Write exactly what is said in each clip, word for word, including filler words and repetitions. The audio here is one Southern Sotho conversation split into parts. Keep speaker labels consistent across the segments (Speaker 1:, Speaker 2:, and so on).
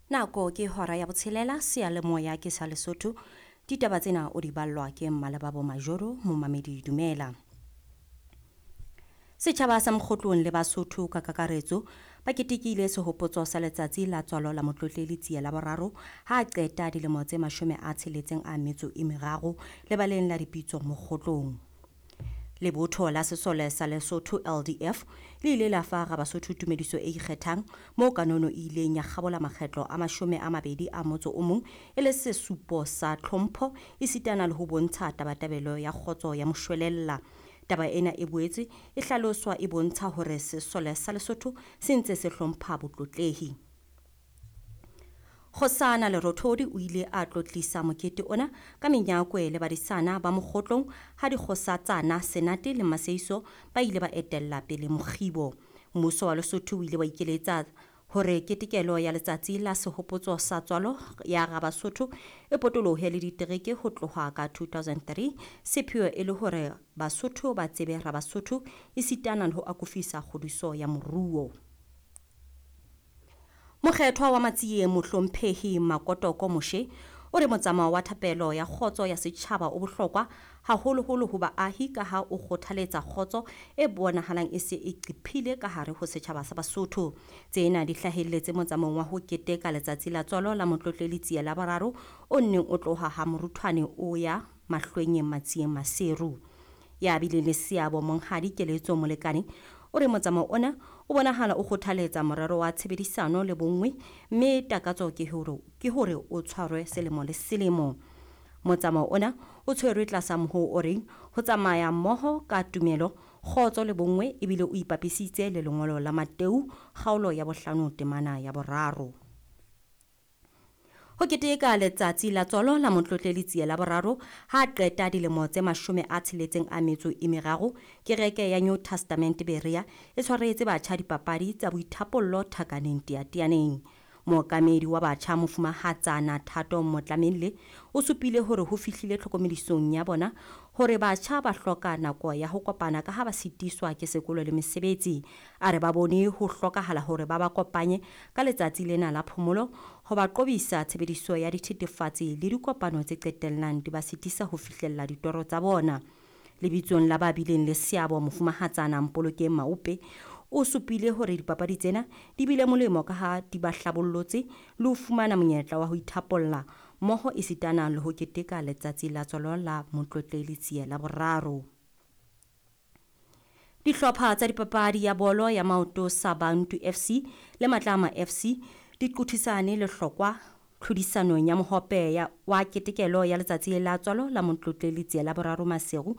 Speaker 1: Nako ke hora ya botshelela, seyalemoya ke sa Lesotho. Ditaba tsena o di ballwa ke Mmalebabo Majoro, momamedi dumela. Setjhaba sa Mokgotlong le Basotho ka kakaretso ba ketekile sehopotso sa letsatsi la tswalo la Motlotleli Tsie la boraro ha a qeta dilemo tse mashome a tsheletseng a metso e meraro lebaleng la dipitso Mokgotlong. Lebotho la sesole sa Lesotho L D F le ile la fa Rabasotho tumediso e ikgethang moo kanono e ileng ya kgabola makgetlo a mashome a mabedi a motso o mong e le sesupo sa tlhompho esitana le ho bontsha tabatabelo ya kgotso ya moshwelella. Taba ena e boetse e hlaloswa e bontsha hore sesole sa Lesotho se ntse se hlompha botlotlehi. Kgosana Lerothodi o ile a tlotlisa mokete ona ka menyakwe le badisana ba Mokgotlong ha dikgosatsana Senate le Maseiso ba ile ba etella pele mokgibo. Mmuso wa Lesotho o ile wa ikeletsa hore ketekelo ya letsatsi la sehopotso sa tswalo ya Rabasotho e potolohe le ditereke ho tloha ka two thousand three, sepheo e le hore Basotho ba tsebe Rabasotho esitana le ho akofisa kgodiso ya moruo. Mokgethwa wa Matsieng Mohlomphehi Makotoko Moshe o re motsamao wa thapelo ya kgotso ya setjhaba o bohlokwa haholoholo ho baahi ka ha o kgothaletsa kgotso e bonahalang e se e qiphile ka hare ho setjhaba sa Basotho. Tsena di hlahelletse motsamaong wa ho keteka letsatsi la tswalo la Motlotleli Tsie la boraro o nneng o tloha ha Moruthwane o ya Mahlwenyeng Matsieng Maseru. Ya bileng le seabo Monghadi Keletso Molekane o re motsamao ona o bonahala o kgothaletsa morero wa tshebedisano le bonngwe mme takatso ke hore ke hore o tshwarwe selemo le selemo. Motsamao ona o tshwerwe tlasa mohoo o reng ho tsamaya mmoho ka tumelo, kgotso le bonngwe ebile o ipapisitse le lengolo la Mateu kgaolo ya bohlano temana ya boraro. Ho keteka letsatsi la tswalo la Motlotleli Tsie la boraro ha qeta dilemo tse mashome a tsheletseng a metso e meraro, kereke ya New Testament Berea e tshwaretse batjha dipapadi tsa boithapollo Thakaneng Teatianeng. Mookamedi wa batjha Mofumahatsana Thato Motlamelle o supile hore ho fihlile tlhokomedisong ya bona hore batjha ba hloka nako ya ho kopana ka ha ba sitiswa ke sekolo le mesebetsi. A re ba bone ho hlokahala hore ba ba kopanye ka letsatsi lena la phomolo ho ba qobisa tshebediso ya dithethefatsi le dikopano tse qetellang di ba sitisa ho fihlella ditoro tsa bona. Lebitsong la ba bileng le seabo Mofumahatsana Mpolokeng Maupe o supile hore dipapadi tsena di bile molemo ka ha di ba hlabollotse le ho fumana monyetla wa ho ithapolla mmoho esitana le ho keteka letsatsi la tswalo la Motlotleli Tsie la boraro. Dihlopha tsa dipapadi ya bolo ya maoto sa Bantu F C le Matlama F C di qothisane lehlokwa tlhodisanong ya mohope ya wa ketekelo ya letsatsi la tswalo la Motlotleli Tsie la boraro Maseru.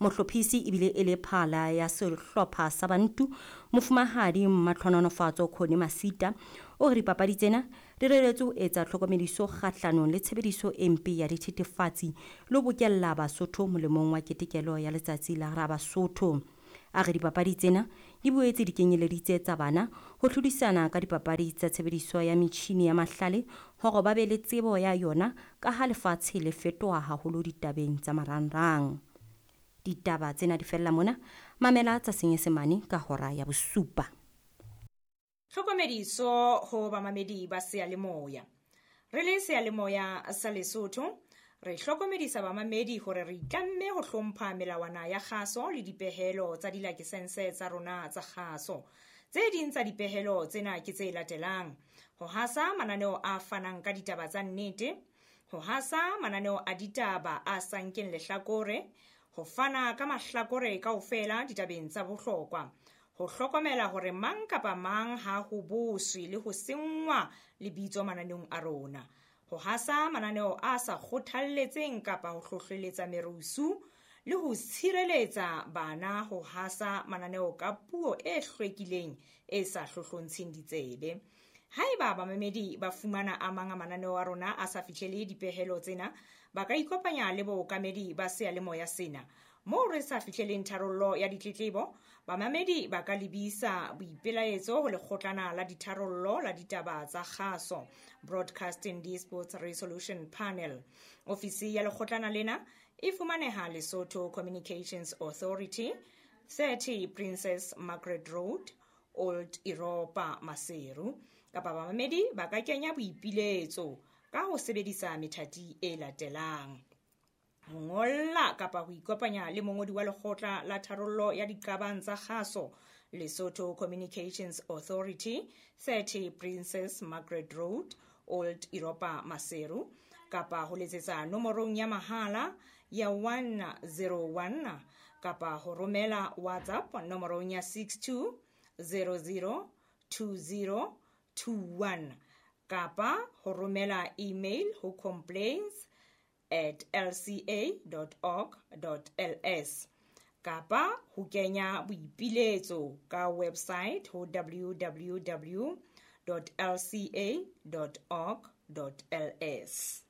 Speaker 1: Mohlophisi ebile e le phala ya sehlopha sa Bantu Mofumahadi Matlhononofatso Khone Masita o re dipapadi tsena di reretswe ho etsa tlhokomediso kgahlanong le tshebediso e mpe ya dithethefatsi le ho bokella Basotho molemong wa ketekelo ya letsatsi la Rabasotho. A re dipapadi tsena di boetse di kenyeleditse tsa bana ho hlodisana ka dipapadi tsa tshebediso ya metjhini ya mahlale hore ba be le tsebo ya yona ka ha lefatshe le fetoha haholo ditabeng tsa marangrang. Ditaba tsena di fella mona, mamela tsa Senyesemane ka hora ya bosupa.
Speaker 2: Tlhokomediso ho bamamedi ba seyalemoya. Re le seyalemoya sa Lesotho, re hlokomedisa bamamedi hore re itlamme ho hlompha melawana ya kgaso le dipehelo tsa dilakesense tsa rona tsa kgaso. Tse ding tsa dipehelo tsena ke tse latelang: ho hasa mananeo a fanang ka ditaba tsa nnete, ho hasa mananeo a ditaba a sa nkeng lehlakore, ho fana ka mahlakore kaofela ditabeng tsa bohlokwa, ho hlokomela hore mang kapa mang ha ho boswe le ho senngwa lebitso mananeong a rona, ho hasa mananeo a sa kgothalletseng kapa ho hlohleletsa merusu le ho tshireletsa bana ho hasa mananeo ka puo e hlwekileng e sa hlohlontsheng ditsebe. Haeba bamamedi ba fumana a mang a mananeo a rona a sa fihlele dipehelo tsena, ba ka ikopanya le bookamedi ba seyalemoya sena. Moo re sa fihleleng tharollo ya ditletlebo, bamamedi ba ka lebisa boipelaetso ho lekgotlana la ditharollo la ditaba tsa kgaso, Broadcasting Disputes Resolution Panel. Ofisi ya lekgotlana lena e fumaneha Lesotho Communications Authority, thirty Princess Margaret Road, Old Europa, Maseru. Kapa bamamedi ba ka kenya boipiletso ka ho sebedisa methati e latelang. Ho ngolla kapa ho ikopanya le mongodi wa lekgotla la tharollo ya diqabang tsa kgaso, Lesotho Communications Authority, thirty Princess Margaret Road, Old Europa Maseru, kapa ho letsetsa nomorong ya mahala ya one zero one kapa ho romela WhatsApp nomorong ya six two zero zero two zero two one kapa ho romela email ho complaints at l c a dot org dot l s kapa ho kenya boipiletso ka website ho w w w dot l c a dot org dot l s.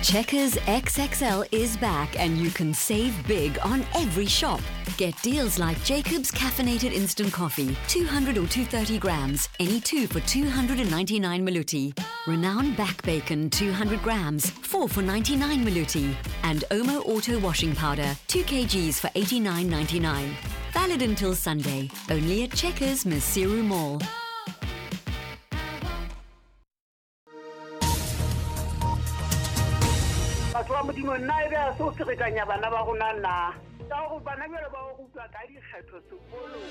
Speaker 3: Checkers X X L is back and you can save big on every shop. Get deals like Jacob's Caffeinated Instant Coffee, two hundred or two thirty grams, any two for two hundred ninety-nine Maluti. Renown Back Bacon, two hundred grams, four for ninety-nine Maluti. And Omo Auto Washing Powder, two kilograms for eighty-nine ninety-nine. Valid until Sunday, only at Checkers Maseru Mall.
Speaker 4: Batho ba Modimo, nna ebe a se o ferekanya bana ba rona na? Ka hore bana jwale ba o rutwa ka dikgetho sekolong.